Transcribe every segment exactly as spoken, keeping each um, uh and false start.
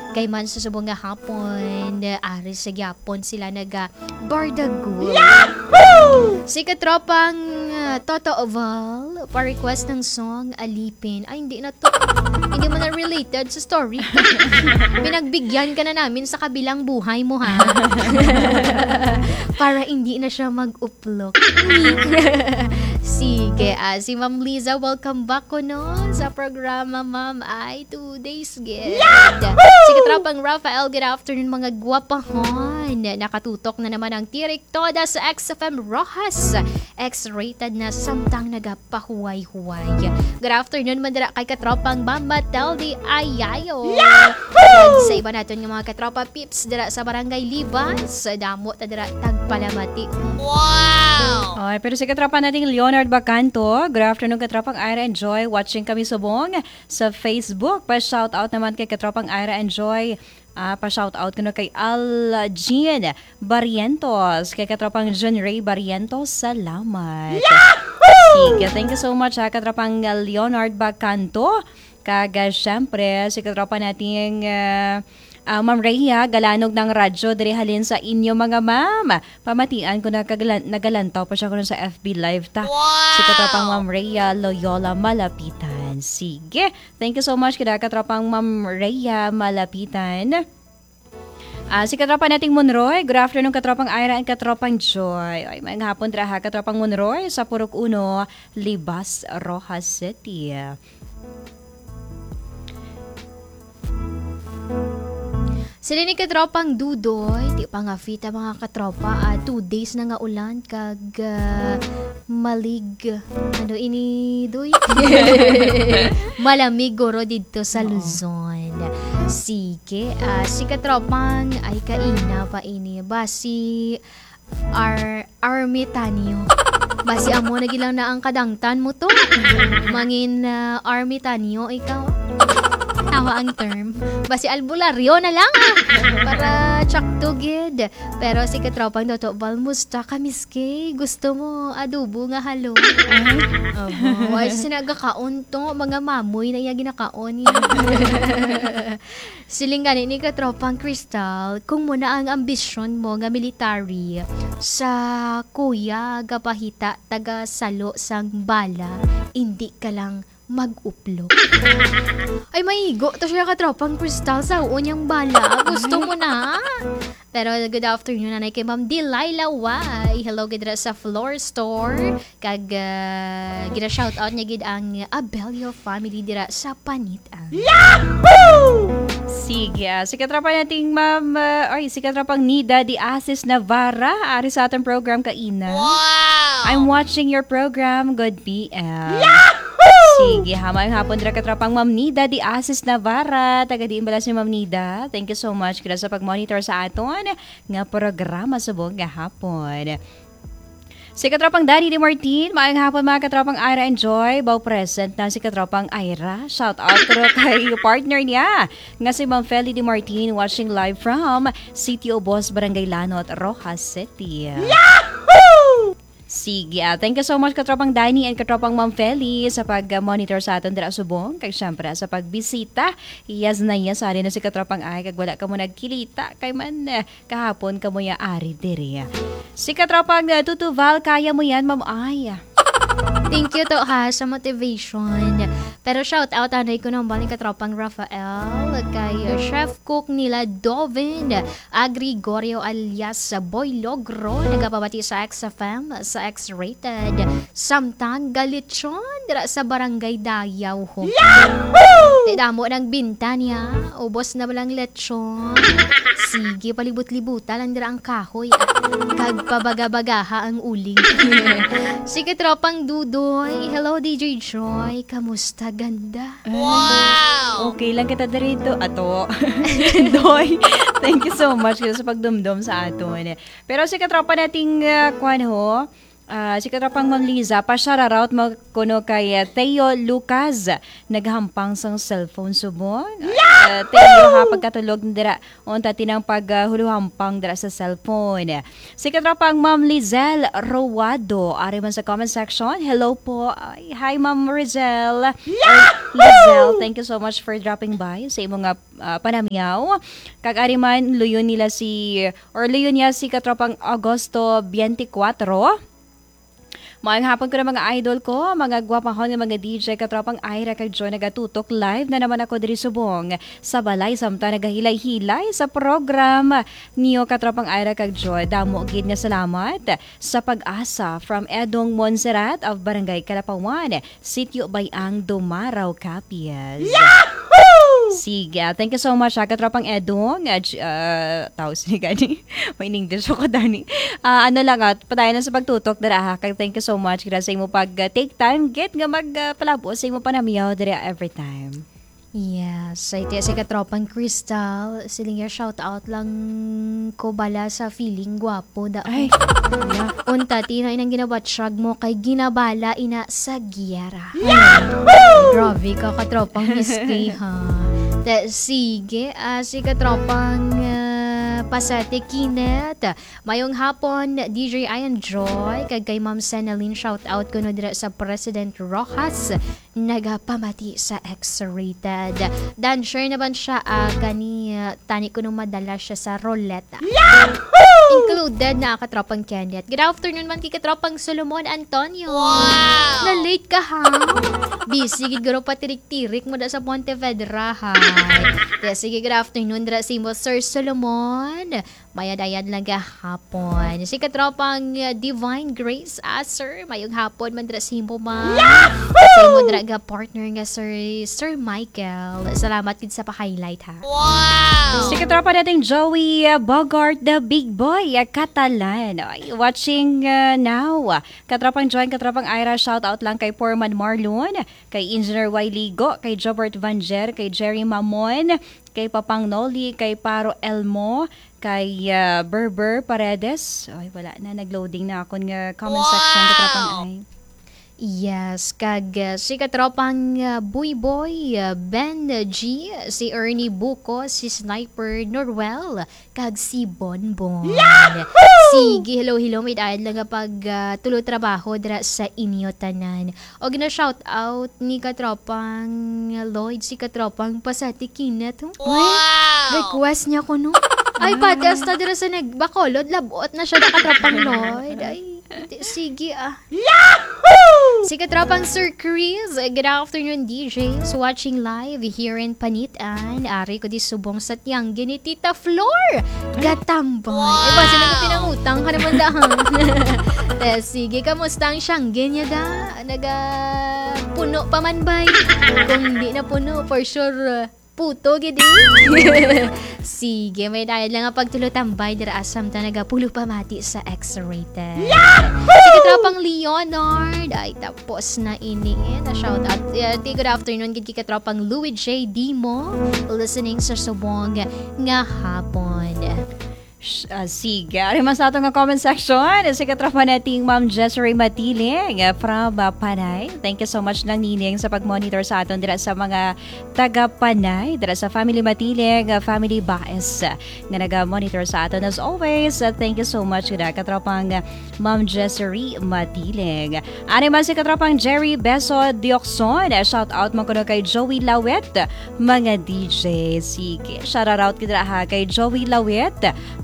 Kay man sa subong nga hapon, ari sa gyapon sila naga Bardagol. Yahoo! Si katropang, ah, Toto Oval, pa-request ng song, Alipin. Ay, hindi na to. Hindi mo na related sa story. Pinagbigyan ka na namin sa kabilang buhay mo, ha? Para hindi na siya mag-uplok. Sige, ah, si Ma'am Liza, welcome back ko, no, sa programa, ma'am. Ay, two days, gid. Si katropang Rafael, good afternoon, mga gwapahon. Nakatutok na naman ang Tirik Toda sa X F M Roxas. X-rated na samtang nagapahuway-huway. Good afternoon man dira kay katropang Mama Teldi Ayayo. Kag sa iba naton nga mga katropa peeps dira sa Barangay Libas, damo ta dira tagpalamati. Wow! Ay, pero si katropa nating Leonard Bacanto, good afternoon, katropang Ira and Joy. Watching kami subong sa Facebook. Pa-shoutout naman kay katropang Ira and Joy. Ah, pa-shoutout ko na kay Al Jean Barrientos, kay katropang John Ray Barrientos. Salamat. Yahoo! Sige, thank you so much, ha, katropang Leonard Bacanto. Kag, ah, syempre, si katropa nating, ah, ah, Ma'am Rhea Galanog ng Radyo, diri halin sa inyo, mga ma'am. Pamatian ko na kag lan-, nagalantaw pa siya kuno sa F B Live ta. Wow! Si katropang Ma'am Rhea Loyola Malapitan. Sige. Thank you so much, kada katropang Ma'am Rhea Malapitan. Ah, si katropa nating Monroy. Good afternoon, katropang Ira and katropang Joy. Ay, maayong hapon dira, ha, katropang Monroy sa Purok Uno, Libas, Roxas City. Sila ni katropang Dudoy, di pa nga fit ang mga katropa, ah, two days na nga ulan, kag, ah, malig, ano ini, Doy? Malamig guro didto sa Oo. Luzon. Sige, ah, si katropang, ay, kaina pa ini. Basi, Ar-, Army Tanyo. Basi amo na gid lang na ang kadangtan mo to. Mangin, ah, Army Tanyo ikaw. Tama ang term. Basi albularyo na lang, ah. Para tsakto gid. Pero si katropang Toto Val, musta ka, miski? Gusto mo adobo nga halong? Ay. Oho. Ay, sinaga kaon to. Mga mamoy na iya ginakaon niya. Siling gani ni katropang Crystal, kung mo na ang ambisyon mo nga military, sa kuya gapahita taga salo sang bala, indi ka lang mag-uplok. Ay, maigo to siya, katropang Crystal, sa uon niyang bala. Gusto mo na? Pero good afternoon, anay kay Ma'am Delilah Way. Hello, gid ra sa Floor Store. Kag, ah, gina-shoutout niya gid ang Abelio family dira sa Panitan. Yahoo! Sige, ah, si katropa nating Ma'am, ah, ay, si katropang Nida de Asis Navarra, ari sa atong program kaina. Wow! I'm watching your program. Good P M. Yahoo! Sige, ha, maayong hapon dira katropang Ma'am Nida de Asis Navarra. Taga diin bala si Ma'am Nida? Thank you so much gid sa pag-monitor sa aton nga programa subong nga hapon. Si katropang Danny De Martin, maayong hapon, mga katropang Ira and Joy. Baw present na si katropang Ira. Shout out ko kay partner niya nga si Ma'am Feli De Martin, watching live from Sitio Obos, Barangay Lanot, Roxas City. Yahoo! Sige, ah, thank you so much, katropang Danny and katropang Ma'am Feli, sa pag-monitor sa aton dira subong, kag syempre sa pagbisita. Yes na yes, ari na si katropang Ay, kag wala ka mo nagkilita kay man, eh, kahapon kamo ya ari diri. Si katropang, uh, Tutuval, kaya mo yan, Ma'am Ay. Thank you to, ha, sa motivation. Pero shout out anay ko nang bali katropang Rafael, kay, uh, Chef Cook nila Dovin, a Gregorio alias Boy Logro, nagapabati sa X F M, sa X-Rated. Samtang galitsyon dira sa Barangay Dayaw ho. Yahoo! Ti damo nang binta niya, ubos na lang lechon. Sige, palibot-libuta lang dira ang kahoy, ah. Kag pabaga-bagaha ang uling. Sige, tropang Dudoy. Hello, D J Joy. Kamusta, ganda? Wow! Okay lang kita diri do-, ato. Doy, thank you so much sa pagdumdom sa aton. Pero si katropa nating, ah, kwan ho, Ah, si katropang Ma'am Liza, pa-shoutout mo kuno kay, ah, Theo Lucas, naghampang sang cellphone subong. Ah, Theo, ha, pagkatulog na dira, unta tinang pag, ah, huluhampang dira sa cellphone. Si katropang Ma'am Lizelle Rowado, ari man sa comment section. Hello po. Ay, hi, Ma'am Rizelle. Or Lizelle, thank you so much for dropping by sa imo nga, ah, panamiyaw. Kag ari man, luyon nila si, or luyon niya si katropang Agosto twenty-four. Maayong hapon ko na, mga idol ko, mga gwapahon nga mga D J, katropang Ira kag Joy, nagatutok live na naman ako diri subong sa balay, samtang nagahilay-hilay sa program niyo, katropang Ira kag Joy. Damo gid nga salamat sa pag-asa from Edong Montserrat of Barangay Kalapawan, Sitio Bayang, Dumarao, Capiz. Yahoo! Sige, thank you so much, ha, katropang Edong. Ah, j-, ah, tawag sini gani. May English ako, Dani. Ah, ano lang, ah, padayon lang sa pagtutok dira, ha. Kag thank you so much, gira, sa imo pag, ah, take time, gid nga mag, ah, palabo sa imo panamiyaw dira every time. Yes, ay, ti-, si katropang Crystal, siling niya, "Shout out lang ko bala sa feeling gwapo da." Ay, wala. Unta, ti, na inang ginabatyag mo kay ginabala ina sa giyera. Yahoo! Grabe ka, katropang Misty, ha. Te, sige, ah, si katropang, ah, Pasete Kenneth. Mayong hapon, D J Ian Joy, kag kay Ma'am Senalyn, shout out kuno dira sa President Rojas, nagapamati sa X-rated. Dan, share naman siya, ah, gani, ah, tani kuno madala siya sa ruleta. Yahoo! Included na katropang Kenneth. Good afternoon man kay katropang Solomon Antonio. Wow! Na-late ka, ha? Busy gid guro patirik-tirik mo da sa Pontevedra, ha? Kaya sige, good afternoon dira sa imo, Sir Solomon. Mayad-ayad lang gahapon. Si katropang, uh, Divine Grace Aser, mayong hapon man dira sa imo, ma'am. Yahoo! At sa imo dira ga partner nga Sir, Sir Michael. Salamat gid sa pa-highlight, ha. Wow! Si katropa nating Joey, uh, Bogart, the big boy, uh, Catalan. Ay, watching, uh, now. Katropang Joy, katropang Ira, shout out lang kay Foreman Marlon, kay Engineer Y Ligo, kay Jobert Vanjer, kay Jerry Mamon, kay Papang Noli, kay Paro Elmo, kay, ah, Berber Paredes. Ay, wala na. Nag-loading na akon nga comment section, katropang Wow! Ay. Yes, kag, ah, si katropang, ah, Buy Boy, ah, Ben G, si Ernie Buko, si Sniper Norwell, kag si Bonbon. Yahoo! Sige, hello, hello. May daan lang nga pag, ah, tulo trabaho dira sa inyo tanan. Og na-shout out ni katropang Lloyd, si katropang Pasati Kinat, oh. Wow! Request niya ko, no? Ay, pati hasta dira sa nag-, Bacolod, labot na siya na katropang Lloyd. Ay, ti-, sige, ah. Yahoo! Si katropang Sir Chris, good afternoon, D Js. Watching live here in Panitan. Ari ko di subong sa tiyanggi ni Tita Flor. Gatambay. Wow! Eh, basi nagpinangutang ka naman dahan. Eh, sige, kamusta ang siyanggi niya da? Naga puno pa man bay? Kung di na puno, for sure, uh, puto gid eh. Sige, may dayad lang ang pagtulotambay dira asam ta nagapulo pa mati sa X-rated. Yahoo! Si katropang Leonard, ay tapos na ini. Na shout out. Uh, ti-, good afternoon gid kay katropang Louis J Dimo, listening sa subong nga hapon. Sh-, ah, sige. Ari man sa aton nga comment section, si katropa nating Ma'am Jezrey Matiling, ah, from, ah, Panay. Thank you so much, Nang Nining, sa pag-monitor sa aton dira sa mga taga Panay, dira sa Family Matiling, ah, Family Baez, ah, nga naga-monitor sa aton as always. Ah, thank you so much, gid, ah, katropang, ah, Ma'am Jezrey Matiling. Ani man si katropang Jerry Beso Diokson, ah, shout out man kuno kay Joey Lawet, mga D J. Sige, shout out kita ha kay Joey Lawit,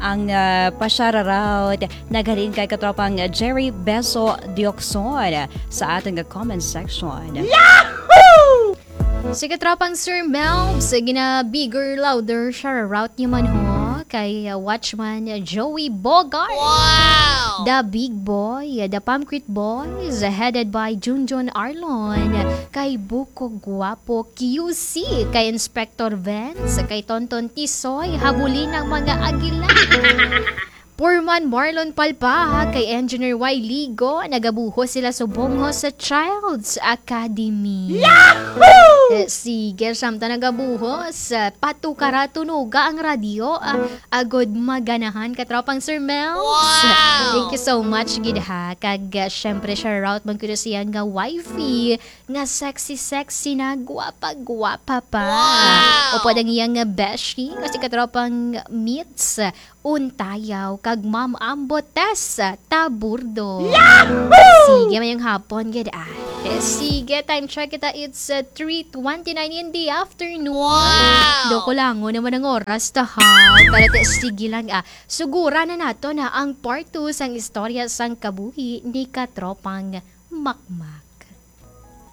ang, ah, pa-shout out naghalin kay katropang Jerry Beso Diokson sa aton nga comment section. Yahoo! Si katropang Sir Melbs, gina bigger, louder, shout out niya man ho kay, ah, Watchman Joey Bogart. Wow! The Big Boy, The Pamcrit Boys, headed by Junjun Arlon, kay Buko Guapo Q C, kay Inspector Vance, kay Tonton Tisoy, habulin ang mga agila. Foreman Marlon Palpa kay Engineer Y Ligo, nagabuhos sila subong ho sa Child's Academy. Yahoo! Eh, sige, samtang nagabuhos, ah, patukara tunuga ang radyo, ah, agod maganahan, katropang Sir Mels. Wow! Thank you so much gid ha. Kag, ah, syempre, shout out man kuno siya nga wifey, nga sexy-sexy na, gwapa-gwapa pa. Wow! Upod ang iyang, ah, beshi, nga si katropang Mitz Untayaw, kag Ma'am Ambo Tess Taburdo. Yahoo! Sige, mayong hapon gid, ah. Eh, sige, time check kita, it's, uh, three twenty-nine in the afternoon. Wow! Dako lang, oh, naman ang oras, ta, ha? Pero te, sige lang, ah. Sugura na nato na ang part two sang istorya sang kabuhi ni Katropang Makmak.